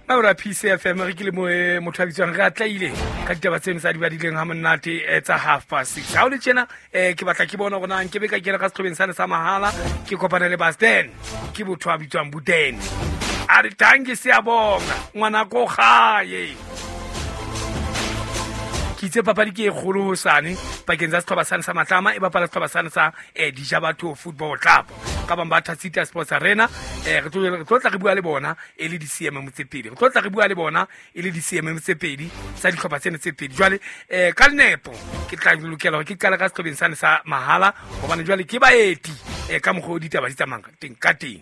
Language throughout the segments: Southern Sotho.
Maura PCFM re ke le mo motho a bitswang re atlaile ka ditaba tseno tsa di badileng ha monate tsa 6:30. Ha o le tjena ke batla ke bona hore na nke be ka kena ka sehlobeng sane sa mahala ke kopane le Basten ke botho a bitswang Buden. A re tanki siyabonga ngwana ko gae. Ke itse papadi ke e kgolo hosane pakeng tsa setlhopha sane sa Matlama e bapala setlhopha sane sa Dijabatho Football Club. Ka bang ba Thasita Sports Arena re tlo tla re bua le bona e le di-CMM tse pedi, re tlo tla re bua le bona e le di-CMM tse pedi tsa dihlopha tsena tse pedi. Jwale ka nepo ke tla lokela hore ke qale ka sehlobeng sane sa mahala hobane jwale ke baeti ka mokgwa o ditaba di tsamayang teng ka teng.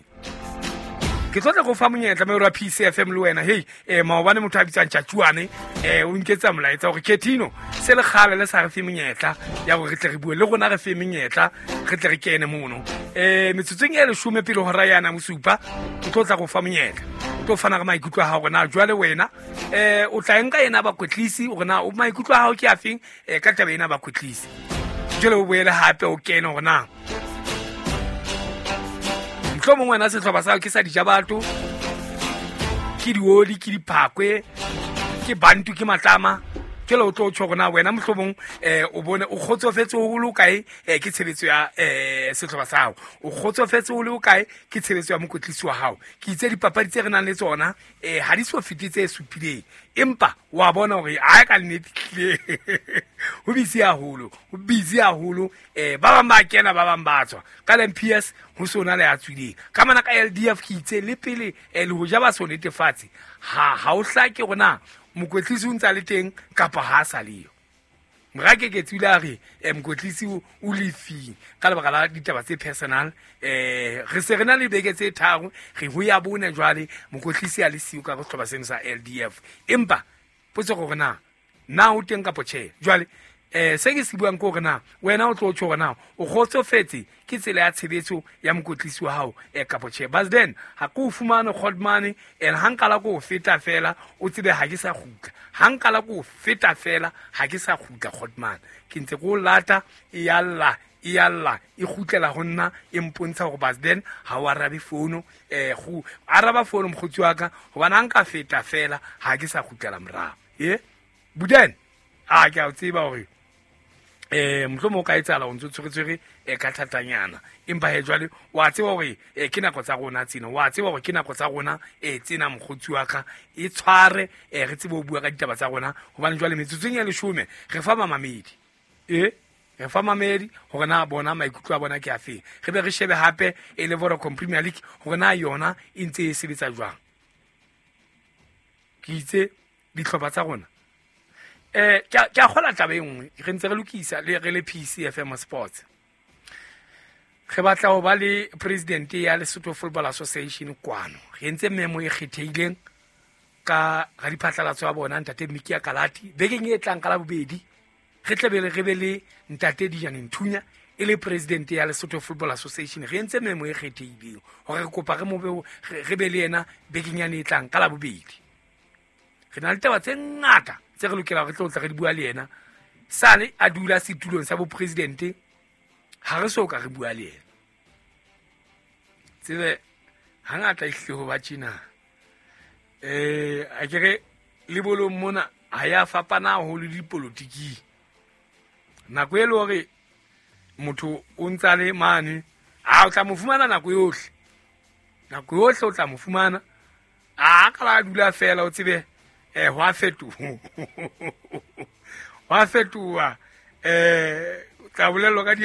Ke tlo tla go fa monyetla mme wa PCFM le wena hei maobane motho a bitsang Tjatjuane o nketsa molaetsa hore Ketino se le kgale le sa re fe monyetla ya hore re tle re bue le rona, re fe menyetla re tle re kene mono metsotsong e 10 pele hora yana bosupa. Ke tlo tla go fa monyetla, o tlo fana ka maikutlo a hao hore na jwale wena o tla nka ena bakwetlisi hore na maikutlo a hao ke afeng ka taba ena bakwetlisi. Jwale o boele hape o kene hore na mohlomong wena sehlopha sa ke sa Dijabatho, ke dioli, ke diphakwe, ke bantu, ke Matlama. Jwale o tlo tjho hore na wena mohlomong o bone o kgotsofetse ho le kae ke tshebetso ya sehlopha sa hao, o kgotsofetse ho le kae ke tshebetso ya mokwetlisi wa hao. Ke itse dipapadi tse re nang le tsona ha di so fete tse supileng, empa wa bona hore ha ka nnete tlile ho busy haholo, ho busy haholo. Ba bang ba kena, ba bang ba tswa. Ka MPS ho sona le a tswileng. Ka mana ka LDF ke itse le pele le ho ja ba so netefatse ha o hlake hore na mokwetlisi o ntsa le teng kapa ha a sa leyo. Mora ke ke tswile a re mokwetlisi o lefing ka lebaka la ditaba tse personal. Re se re na le beke tse 3 re ho ya bone jwale mokwetlisi a le siyo ka sehlopha seno sa LDF. Empa potso ke hore na o teng kapa tjhe. Jwale se ke se buang ke hore na wena o tlo tjho hore na o kgotsofetse ke tsela ya tshebetso ya mokwetlisi wa hao kapa tjhe. But then ha ke o fumane Godmane and ha nka la ko feta fela o tsebe ha ke sa kgutla, ha nka la ko feta fela ha ke sa kgutla Godmane. Ke ntse ke o lata e ya lla, e ya lla, e kgutlela ho nna e mpontsha hore but then ha o arabe fono, go araba fono mokgotsi wa ka hobane ha nka feta fela ha ke sa kgutlela morao. Buden a ke a tseba hore mohlomong o ka etsahala o ntso tshweretswere ka thatanyana, empa he jwale wa tseba hore ke nako tsa rona tsena, wa tseba hore ke nako tsa rona tsena mokgotsi wa ka e tshware re tsebe ho bua ka ditaba tsa rona hobane jwale metsotsong ya 10 re fa mamamedi re fa mamedi hore na bona maikutlo a bona ke afeng, re be re shebe hape e le Vodacom Premier League hore na yona e ntse e sebetsa jwang. Ke itse dihlopha tsa rona ke a kgola taba e nngwe re ntse re lokisa le re le PCFM Sports. Re batla ho ba le president ya Lesotho Football Association kwano. Re entse memo e kgethehileng ka radiphatlalatso ya bona ntate Mikia Kalati bekeng e tlang ka Labobedi. Re tle be re be le ntate Dijane Nthunya e le president ya Lesotho Football Association. Re entse memo e kgethehileng hore re kopa re mo re be le yena bekeng yane e tlang ka Labobedi. Re na le taba tse ngata tse re lokelang re tlo tla re di bua le yena. Sale a dula setulong sa bopresidente ha re so ka re bua le yena. Tsebe hangata ehlile ho ba tjena. A ke re le bolong mona ha ya fapana haholo le dipolotiking. Nako e le hore motho o ntsa le mane, a o tla mo fumana nako yohle. Nako yohle o tla mo fumana. A ka la dula fela o tsebe hwa fetoha. Hwa fetoha. Tla bolellwa ka dia